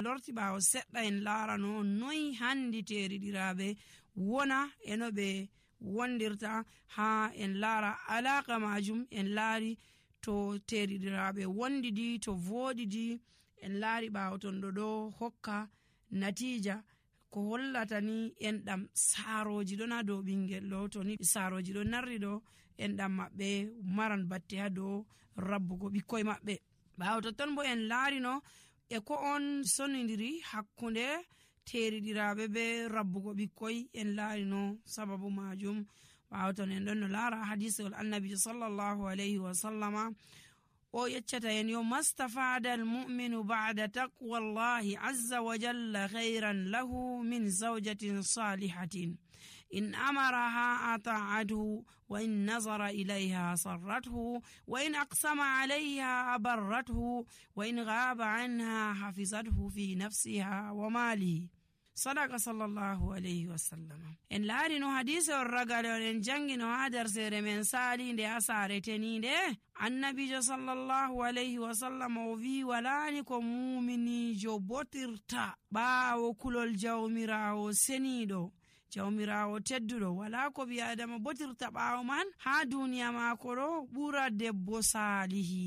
lorti ɓaawo seɗɗa en laarano noyi handi teriɗiraɓe wona e no ɓe wondirta ha en laara alaka majum. En laari to teriɗiraɓe wondidi to voɗidi, en laari ɓaawo ton ɗo hokka natija ko hollata ni enɗam saaroji ɗon ha dow ɓingel ɗo. To ni saaroji ɗo narri ɗo, enɗam maɓɓe maran batte ha dow rabbugo ɓikkoy maɓɓe. ɓaawo totton bo en laarino e ko on sonidiri hakkunde teriɗiraɓe be rabbugo ɓikkoy. En laarino sababu majum. ɓaawo ton en ɗon no laara hadisol annabijo sallallahu alayhi wa sallama o yeccata en yo mastafada almu'minu ba'da taqwallahi azza wa jalla khayran lahu min zawjatin salihatin in amaraha ata'athu wa in nazara ilayha sarrathu wa in aqsama alayha abarrathu wa in ghaba anha hafizathu fi nafsiha wa malihi. Sadaka sallallahu alayhi wa sallam. En laari no hadise on ragale on en jangi no ha dersere men salinde ha saare teninde. Annabijo sallallahu alayhi wa sallam o wi walani ko muminijo botirta ɓaawo kulol jawmirawo seniɗo, jawmirawo tedduɗo. wala ko bi adama botirta ɓaawo man ha duniya mako ɗo ɓura debbo salihi.